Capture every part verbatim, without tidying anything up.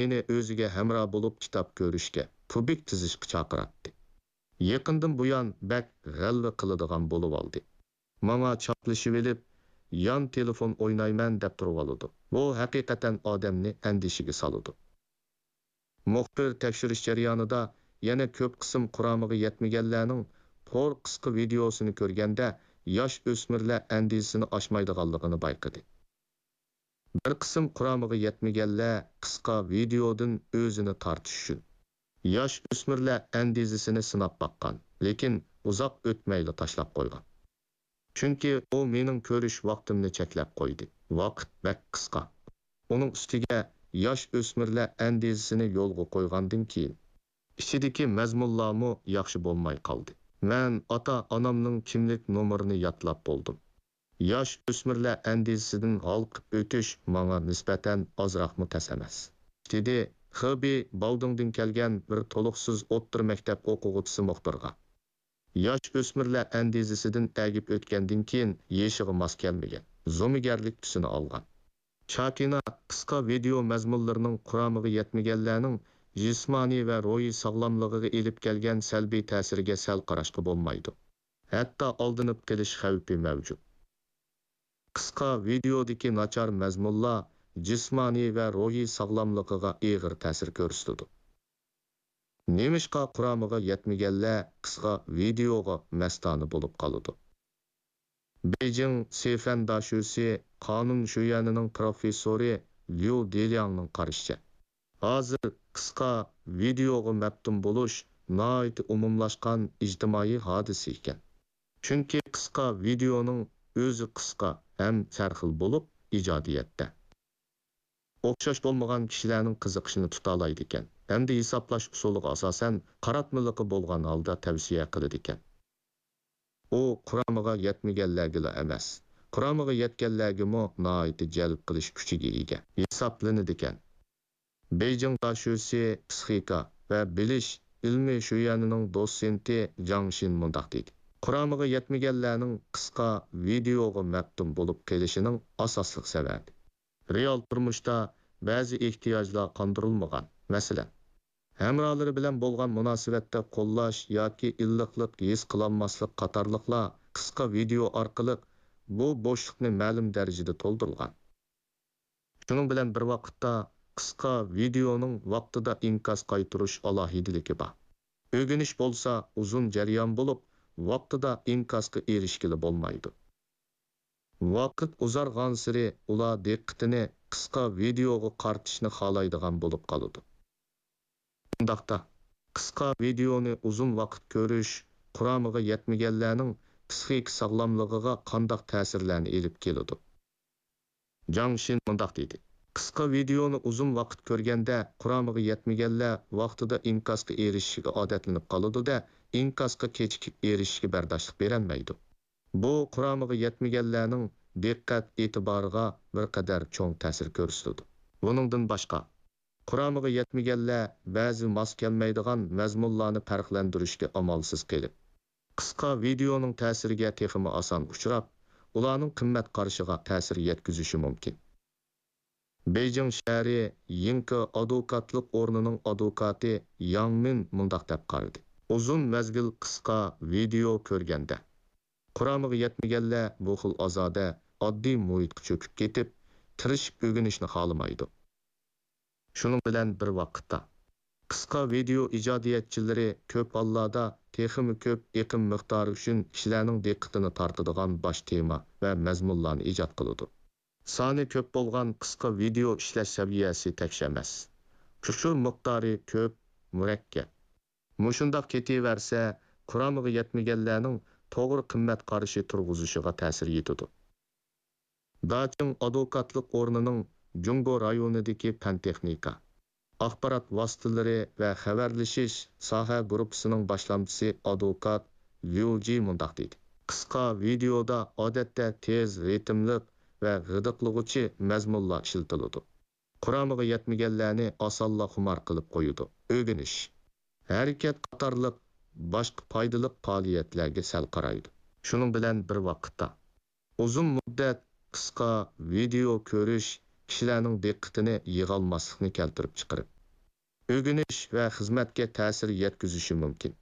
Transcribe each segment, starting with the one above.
مېنى ئۆزىگە ھەمراھ بولۇپ كىتاب كۆرۈشكە، كۇبىك تىزىشقا چاقىراتتى. يېقىندىن بۇيان بەك غەلۋە قىلىدىغان بولۇۋالدى. ماڭا چاپلىشىۋېلىپ، يان تېلېفون ئوينايمەن دەپ تۇرۇۋالىدۇ. بۇ ھەقىقەتەن ئادەمنى ئەندىشىگە سالىدۇ. مۇخبىر تەكشۈرۈش جەريانىدا يەنە كۆپ قىسىم قۇرامىغا يەتمىگەنلەرنىڭ تور قىسقا ۋىدېئوسىنى كۆرگەندە، ياش ئۆسمۈرلەر ئەندىزىسىنى ئاشمايدىغانلىقىنى بايقىدى. بىر قىسىم قۇرامىغا يەتمىگەنلەر قىسقا ۋىدېئودىن ئۆزىنى تارتىش ئۈچۈن ياش ئۆسمۈرلەر ئەندىزىسىنى سىناپ باققان، لېكىن ئۇزاق ئۆتمەيلا تاشلاپ قويغان. چۈنكى ئۇ مېنىڭ كۆرۈش ۋاقتىمنى چەكلەپ قويدى. ۋاقىت بەك قىسقا. ئۇنىڭ ئۈستىگە ياش ئۆسمۈرلەر ئەندىزىسىنى يولغا قويغاندىن كېيىن، ئىچىدىكى مەزمۇنلارمۇ ياخشى بولماي قالدى. مەن ئاتا-ئانامنىڭ كىملىك نومۇرىنى يادلاپ بولدۇم. ياش ئۆسمۈرلەر ئەندىزىسىدىن ھالقىپ ئۆتۈش ماڭا نىسبەتەن ئازراقمۇ تەس ئەمەس. دېدى خېبېي باۋدۇڭدىن كەلگەن بىر تولۇقسىز ئوتتۇرا مەكتەپ ئوقۇغۇچىسى مۇخبىرغا. ياش ئۆسمۈرلەر ئەندىزىسىدىن ئەگىپ ئۆتكەندىن كېيىن يېشىغا ماس كەلمىگەن، زومىگەرلىك تۈسىنى ئالغان. چاكىنا قىسقا ۋىدېئو مەزمۇنلىرىنىڭ قۇرامىغا يەتمىگەنلەرنىڭ جىسمانىي ۋە روھىي ساغلاملىقىغا ئېلىپ كەلگەن سەلبىي تەسىرىگە سەل قاراشقا بولمايدۇ. ھەتتا ئالدىنىپ قېلىش خەۋپى مەۋجۇت. قىسقا ۋىدېئودىكى ناچار مەزمۇنلار جىسمانىي ۋە روھىي ساغلاملىقىغا ئېغىر تەسىر كۆرسىتىدۇ. نېمىشقا قۇرامىغا يەتمىگەنلەر قىسقا ۋىدېئوغا مەستانە بولۇپ قالىدۇ؟ بېيجىڭ سىفەن داشۆسى قانۇن شۆيۈەنىنىڭ پروفېسسورى ليۇ دېلياڭنىڭ قارىشىچە، ھازىر قىسقا ۋىدېئوغا مەپتۇن بولۇش ناھايىتى ئومۇملاشقان ئىجتىمائىي ھادىسە ئىكەن. چۈنكى قىسقا ۋىدېئونىڭ ئۆزى قىسقا ھەم سەرخىل بولۇپ، ئىجادىيەتتە ئوخشاش بولمىغان كىشىلەرنىڭ قىزىقىشىنى تۇتالايدىكەن ھەمدە ھېسابلاش ئۇسۇلىغا ئاساسەن قاراتمىلىقى بولغان ھالدا تەۋسىيە قىلىدىكەن. ئۇ قۇرامىغا يەتمىگەنلەرگىلا ئەمەس، قۇرامىغا يەتكەنلەرگىمۇ ناھايىتى جەلپ قىلىش كۈچىگە ئىگە ھېسابلىنىدىكەن. بېيجىڭ داشۆسى پسىخىكا ۋە بىلىش ئىلمى شۆيۈەنىنىڭ دوتسېنتى جاڭ شىن مۇنداق دېدى: قۇرامىغا يەتمىگەنلەرنىڭ قىسقا ۋىدېئوغا مەپتۇن بولۇپ قېلىشىنىڭ ئاساسلىق سەۋەبى، رېئال تۇرمۇشتا بەزى ئېھتىياجلار قاندۇرۇلمىغان، مەسىلەن، ھەمراھلىرى بىلەن بولغان مۇناسىۋەتتە قوللاش ياكى ئىللىقلىق ھېس قىلالماسلىق قاتارلىقلار قىسقا ۋىدېئو ئارقىلىق بۇ بوشلۇقنى مەلۇم دەرىجىدە تولدۇرغان. شۇنىڭ بىلەن بىر ۋاقىتتا، قىسقا ۋىدېئونىڭ ۋاقتىدا ئىنكاس قايتۇرۇش ئالاھىدىلىكى بار. ئۆگىنىش بولسا ئۇزۇن جەريان بولۇپ، ۋاقتىدا ئىنكاسقا ئېرىشكىلى بولمايدۇ. ۋاقىت ئۇزارغانسېرى ئۇلار دىققىتىنى قىسقا ۋىدېئوغا قارىتىشنى خالايدىغان بولۇپ قالىدۇ. ئۇنداقتا، قىسقا ۋىدېئونى ئۇزۇن ۋاقىت كۆرۈش قۇرامىغا يەتمىگەنلەرنىڭ پسىخىكا ساغلاملىقىغا قانداق تەسىرلەرنى ئېلىپ كېلىدۇ؟ جاڭ شىن مۇنداق دېدى: قىسقا ۋىدېئونى ئۇزۇن ۋاقىت كۆرگەندە، قۇرامىغا يەتمىگەنلەر ۋاقتىدا ئىنكاسقا ئېرىشىشكە ئادەتلىنىپ قالىدۇ-دە، ئىنكاسقا كېچىكىپ ئېرىشىشكە بەرداشلىق بېرەلمەيدۇ. بۇ قۇرامىغا يەتمىگەنلەرنىڭ دىققەت ئېتىبارىغا بىر قەدەر چوڭ تەسىر كۆرسىتىدۇ. بۇنىڭدىن باشقا، قۇرامىغا يەتمىگەنلەر بەزى ماس كەلمەيدىغان مەزمۇنلارنى پەرقلەندۈرۈشكە ئامالسىز قېلىپ، قىسقا ۋىدېئونىڭ تەسىرىگە تېخىمۇ ئاسان ئۇچراپ، ئۇلارنىڭ قىممەت قارىشىغا تەسىر يەتكۈزۈشى مۇمكىن. بېيجىڭ شەھىرى يىڭكې ئادۋوكاتلىق ئورنىنىڭ ئادۋوكاتى ياڭ مىن مۇنداق دەپ قارىدى: ئۇزۇن مەزگىل قىسقا ۋىدېئو كۆرگەندە، قۇرامىغا يەتمىگەنلەر بۇ خىل ئازادە، ئاددىي مۇھىتقا چۆكۈپ كېتىپ، تىرىشىپ ئۆگىنىشنى خالىمايدۇ. شۇنىڭ بىلەن بىر ۋاقىتتا، قىسقا ۋىدېئو ئىجادىيەتچىلىرى كۆپ ھاللاردا تېخىمۇ كۆپ ئېقىم مىقدارى ئۈچۈن كىشىلەرنىڭ دىققىتىنى تارتىدىغان باش تېما ۋە مەزمۇنلارنى ئىجاد قىلىدۇ. سانى كۆپ بولغان قىسقا ۋىدېئو ئىشلەش سەۋىيەسى تەكشى ئەمەس. ئۇچۇر مىقدارى كۆپ، مۇرەككەپ. مۇشۇنداق كېتىۋەرسە، قۇرامىغا يەتمىگەنلەرنىڭ توغرا قىممەت قارىشى تۇرغۇزۇشىغا تەسىر يېتىدۇ. داچىڭ ئادۋوكاتلىق ئورنىنىڭ جۇڭگو رايونىدىكى پەن-تېخنىكا، ئاخبارات ۋاسىتىلىرى ۋە خەۋەرلىشىش ساھە گۇرۇپپىسىنىڭ باشلامچىسى ئادۋوكات ليۇ جى مۇنداق دېدى: قىسقا ۋىدېئودا ئادەتتە تېز رىتىملىق ۋە غىدىقلىغۇچى مەزمۇنلار ئىشلىتىلىدۇ. قۇرامىغا يەتمىگەنلەرنى ئاسانلا خۇمار قىلىپ قويىدۇ. ئۆگىنىش، ھەرىكەت قاتارلىق باشقا پايدىلىق پائالىيەتلەرگە سەل قارايدۇ. شۇنىڭ بىلەن بىر ۋاقىتتا، ئۇزۇن مۇددەت قىسقا ۋىدېئو كۆرۈش كىشىلەرنىڭ دىققىتىنى يىغالماسلىقنى كەلتۈرۈپ چىقىرىپ، ئۆگىنىش ۋە خىزمەتكە تەسىر يەتكۈزۈشى مۇمكىن.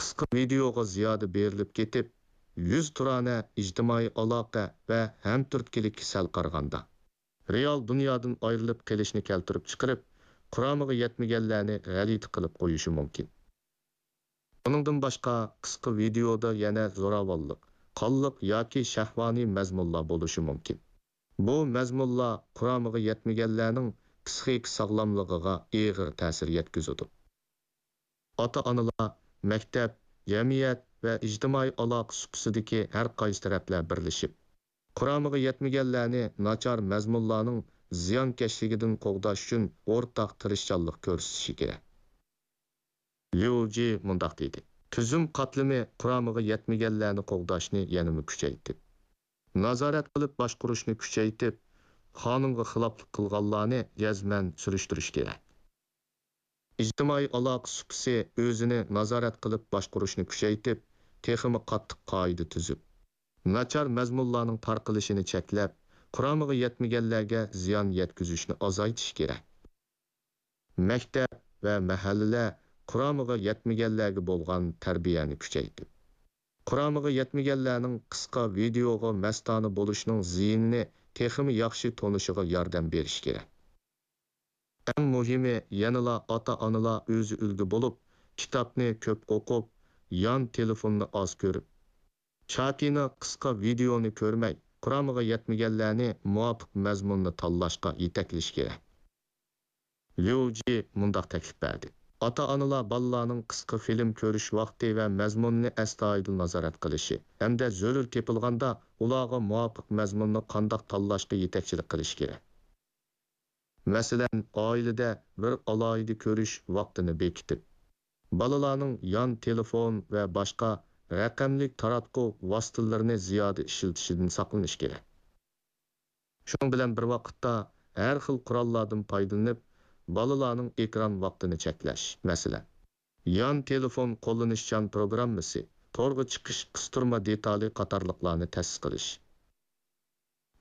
قىسقا ۋىدېئوغا زىيادە بېرىلىپ كېتىپ، يۈزتۇرانە ئىجتىمائىي ئالاقە ۋە ھەمتۈرتكىلىككە سەل قارىغاندا، رېئال دۇنيادىن ئايرىلىپ قېلىشنى كەلتۈرۈپ چىقىرىپ، قۇرامىغا يەتمىگەنلەرنى غەلىتە قىلىپ قويۇشى مۇمكىن. ئۇنىڭدىن باشقا، قىسقا ۋىدېئودا يەنە زوراۋانلىق، قانلىق ياكى شەھۋانىي مەزمۇنلار بولۇشى مۇمكىن. بۇ مەزمۇنلار قۇرامىغا يەتمىگەنلەرنىڭ پسىخىكا ساغلاملىقىغا ئېغىر تەسىر يەتكۈزىدۇ. ئاتا-ئانىلار، مەكتەپ، جەمئىيەت ۋە ئىجتىمائىي ئالاقە سۇپىسىدىكى ھەر قايسى تەرەپلەر بىرلىشىپ، قۇرامىغا يەتمىگەنلەرنى ناچار مەزمۇنلارنىڭ زىيانكەشلىكىدىن قوغداش ئۈچۈن ئورتاق تىرىشچانلىق كۆرسىتىشى كېرەك. ليۇ جى مۇنداق دېدى: تۈزۈم قاتلىمى قۇرامىغا يەتمىگەنلەرنى قوغداشنى يەنىمۇ كۈچەيتىپ، نازارەت قىلىپ باشقۇرۇشنى كۈچەيتىپ، قانۇنغا خىلاپلىق قىلغانلارنى جەزمەن سۈرۈشتۈرۈش كېرەك. ئىجتىمائىي ئالاقە سۇپىسى ئۆزىنى نازارەت قىلىپ باشقۇرۇشنى كۈچەيتىپ، تېخىمۇ قاتتىق قائىدە تۈزۈپ، ناچار مەزمۇنلارنىڭ تارقىلىشىنى چەكلەپ، قۇرامىغا يەتمىگەنلەرگە زىيان يەتكۈزۈشنى ئازايتىش كېرەك. مەكتەپ ۋە مەھەللىلەر قۇرامىغا يەتمىگەنلەرگە بولغان تەربىيەنى كۈچەيتىپ، قۇرامىغا يەتمىگەنلەرنىڭ قىسقا ۋىدېئوغا مەستانە بولۇشىنىڭ زىيىنىنى تېخىمۇ ياخشى تونۇشىغا ياردەم بېرىش كېرەك. ئەڭ مۇھىمى، يەنىلا ئاتا-ئانىلار ئۆزى ئۈلگە بولۇپ، كىتابنى كۆپ ئوقۇپ، يان تېلېفوننى ئاز كۆرۈپ، چاتىنى، قىسقا ۋىدېئونى كۆرمەي، قۇرامىغا يەتمىگەنلەرنى مۇۋاپىق مەزمۇننى تاللاشقا يېتەكلىشى كېرەك. ليۇ جى مۇنداق تەكلىپ بەردى: ئاتا-ئانىلار بالىلارنىڭ قىسقا فىلىم كۆرۈش ۋاقتى ۋە مەزمۇنىنى ئەستايىدىل نازارەت قىلىشى ھەمدە زۆرۈر تېپىلغاندا ئۇلارغا مۇۋاپىق مەزمۇننى قانداق تاللاشقا يېتەكچىلىك قىلىشى كېرەك. مەسىلەن، ئائىلىدە بىر ئالاھىدە كۆرۈش ۋاقتىنى بېكىتىپ، بالىلارنىڭ يان تېلېفون ۋە باشقا رەقەملىك تاراتقۇ ۋاسىتىلىرىنى زىيادە ئىشلىتىشىدىن ساقلىنىش كېرەك. شۇنىڭ بىلەن بىر ۋاقىتتا، ھەر خىل قوراللاردىن پايدىلىنىپ، بالىلارنىڭ ئېكران ۋاقتىنى چەكلەش، مەسىلەن، يان تېلېفون قوللىنىشچان پروگراممىسى، تورغا چىقىش قىستۇرما دېتالى قاتارلىقلارنى تەسىس قىلىش.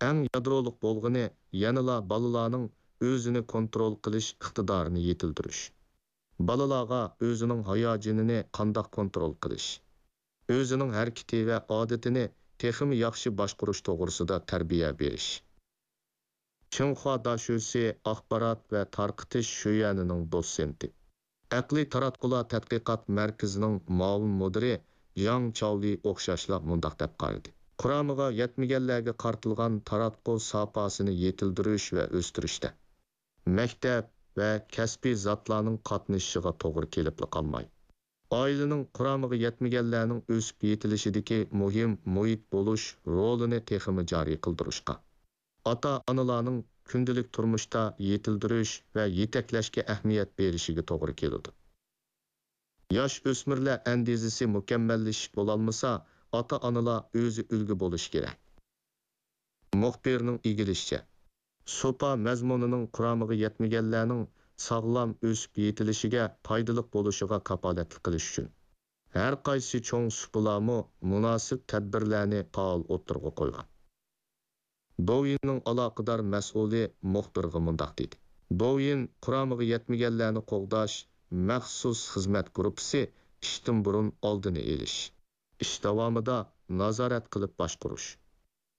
ئەڭ يادرولۇق بولغىنى يەنىلا بالىلارنىڭ ئۆزىنى كونترول قىلىش ئىقتىدارىنى يېتىلدۈرۈش. بالىلارغا ئۆزىنىڭ ھاياجىنىنى قانداق كونترول قىلىش، ئۆزىنىڭ ھەرىكىتى ۋە ئادىتىنى تېخىمۇ ياخشى باشقۇرۇش توغرىسىدا تەربىيە بېرىش. چىڭخۇا داشۆسى ئاخبارات ۋە تارقىتىش شۆيۈەنىنىڭ دوتسېنتى، ئەقلىي تاراتقۇلار تەتقىقات مەركىزىنىڭ مۇئاۋىن مۇدىرى جاڭ چاۋلى ئوخشاشلا مۇنداق دەپ قارىدى: قۇرامىغا يەتمىگەنلەرگە قارىتىلغان تاراتقۇ ساپاسىنى يېتىلدۈرۈش ۋە ئۆستۈرۈشتە مەكتەپ ۋە كەسپىي زاتلارنىڭ قاتنىشىشىغا توغرا كېلىپلا قالماي، ئائىلىنىڭ قۇرامىغا يەتمىگەنلەرنىڭ ئۆسۈپ يېتىلىشىدىكى مۇھىم مۇھىت بولۇش رولىنى تېخىمۇ جارى قىلدۇرۇشقا، ئاتا-ئانىلارنىڭ كۈندىلىك تۇرمۇشتا يېتىلدۈرۈش ۋە يېتەكلەشكە ئەھمىيەت بېرىشىگە توغرا كېلىدۇ. ياش ئۆسمۈرلەر ئەندىزىسى مۇكەممەللىشىپ بولالمىسا، ئاتا-ئانىلار ئۆزى ئۈلگە بولۇشى كېرەك. مۇخبىرنىڭ ئىگىلىشىچە، سۇپا مەزمۇنىنىڭ قۇرامىغا يەتمىگەنلەرنىڭ ساغلام ئۆسۈپ يېتىلىشىگە پايدىلىق بولۇشىغا كاپالەتلىك قىلىش ئۈچۈن، ھەر قايسى چوڭ سۇپىلارمۇ مۇناسىپ تەدبىرلەرنى پائال ئوتتۇرىغا قويغان. دوۋيىننىڭ ئالاقىدار مەسئۇلى مۇخبىرغا مۇنداق دېدى: دوۋيىن قۇرامىغا يەتمىگەنلەرنى قوغداش مەخسۇس خىزمەت گۇرۇپپىسى ئىشتىن بۇرۇن ئالدىنى ئېلىش، ئىش داۋامىدا نازارەت قىلىپ باشقۇرۇش،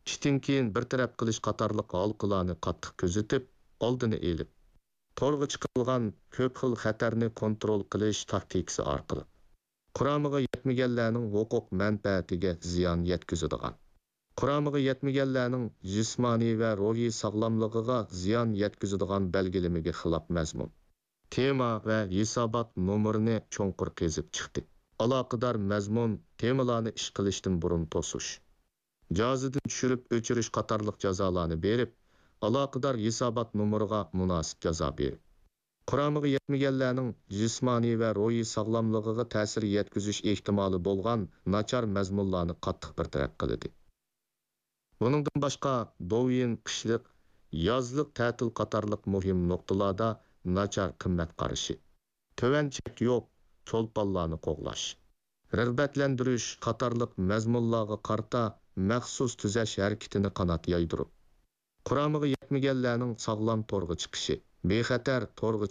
ئىشتىن كېيىن بىر تەرەپ قىلىش قاتارلىق ھالقىلارنى قاتتىق كۆزىتىپ، ئالدىنى ئېلىپ، تورغا چىقىرىلغان كۆپ خىل خەتەرنى كونترول قىلىش تاكتىكىسى ئارقىلىق قۇرامىغا يەتمىگەنلەرنىڭ ھوقۇق مەنپەئەتىگە زىيان يەتكۈزىدىغان، قۇرامىغا يەتمىگەنلەرنىڭ جىسمانىي ۋە روھىي ساغلاملىقىغا زىيان يەتكۈزىدىغان بەلگىلىمىگە خىلاپ مەزمۇن، تېما ۋە ھېسابات نومۇرىنى چوڭقۇر قېزىپ چىقتى. ئالاقىدار مەزمۇن، تېمىلارنى ئىش قىلىشتىن بۇرۇن توسۇش، جازىدىن چۈشۈرۈپ ئۆچۈرۈش قاتارلىق جازالارنى بېرىپ، ئالاقىدار ھېسابات نومۇرىغا مۇناسىپ جازا بېرىپ، قۇرامىغا يەتمىگەنلەرنىڭ جىسمانىي ۋە روھىي ساغلاملىقىغا تەسىر يەتكۈزۈش ئېھتىمالى بولغان ناچار مەزمۇنلارنى قاتتىق بىر تەرەپ قىلدى. بۇنىڭدىن باشقا، دوۋيىن قىشلىق، يازلىق تەتىل قاتارلىق مۇھىم نۇقتىلاردا ناچار قىممەت قارىشى، تۆۋەن چەك يوق چولپانلارنى قوغلاش، رىغبەتلەندۈرۈش قاتارلىق مەزمۇنلارغا قارىتا مەخسۇس تۈزەش ھەرىكىتىنى قانات يايدۇرۇپ، قۇرامىغا يەتمىگەنلەرنىڭ ساغلام تورغا چىقىشى، بىخەتەر تورغا